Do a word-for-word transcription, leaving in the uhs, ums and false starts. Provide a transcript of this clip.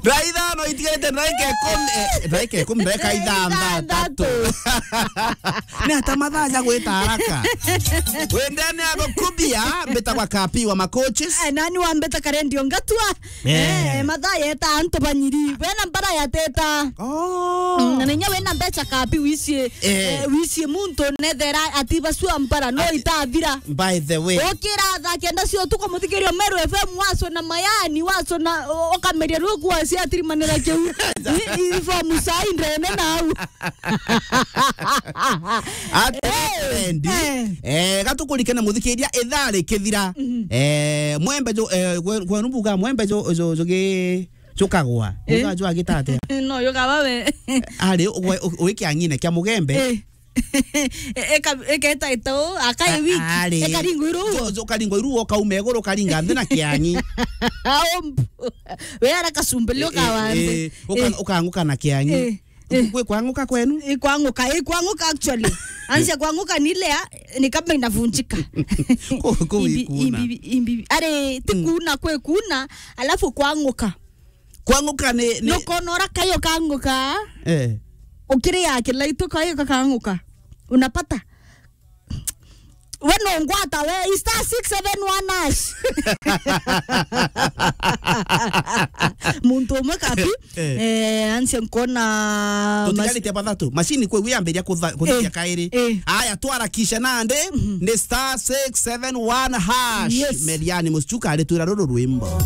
Ndagika ithano itigarite, ndagika ikumi, eh, ndagika ikumi, ndagika ithanthatu. Ithanthatu. Ni ata mathaa ja gwita haraka? Wendene ago kubia, mbitagwa Kapi wa Makochis. Eh, nani wa mbeta karendio ngatua? Eh. Eh, mathaa yeta antu banyiri. Wena mbara yateta. Oh. Mm, na ninya wena mbecha Kapi wicie, eh, eh, wicie muntu nethera ati basua mbara no itathira. By the way. Ukira thaa kenda cia utuku, muthikiria Meru F M, waco na mayani, waco na, u-, ukameria rwiku waciatirimanira kiu. I-, i-, ifomu saa indene nau. Ati, eh, Endi, eh, eh, gatukurikene muthikiria ithaa rikithira. Mhm. Eh, mwembe ju-, eh, gwe-, gwenu mbuga mwembe ju-, ju-, jugi-, jukagwa. Eh. Mbuga jwagitate. No, yugawa we. Ari, u-, u-, u-, wikia ng'ine kia mugembe. Eh. E-, eka-, eketa ito, akae wiki. Ari. Ekaringwa iru. Jo-, jo-, karingwa iru, ukaume iguru, karinga nthi na kiang'i. Aumbu. We ara kasumbe lio kawa nthi. Eh, eh, uka-, eh, ukang'uka na kiang'i. Eh, eh. Kwi kwang'uka kwenu? Ikwang'uka, ikwang'uka actually. Ansia kwang'uka ni ile ya, ni kama inavunjika. Ku-, ku-, imbi-, ikuna. Imbi-, imbi-, ari, ti, mm, kuna, kwi kuna, alafu kwang'uka. Kwang'uka ni, ni nukona ura kayo kang'uka. Eh. Ukiria kilaitu kayo kakang'uka. Unapata? We nungwata we, star six seven one hash. Muntu umwe Kapi, eh, eh, ansia nkona mas- tutigaritie bathatu. Machine kwi yambiria kutha-, kuthithia, eh, kairi. Eh. Aya, twarakisha nandi, mhm, ni star six seven one hash. Yes. Meriani Muchuka ari twira ruru rwimbo.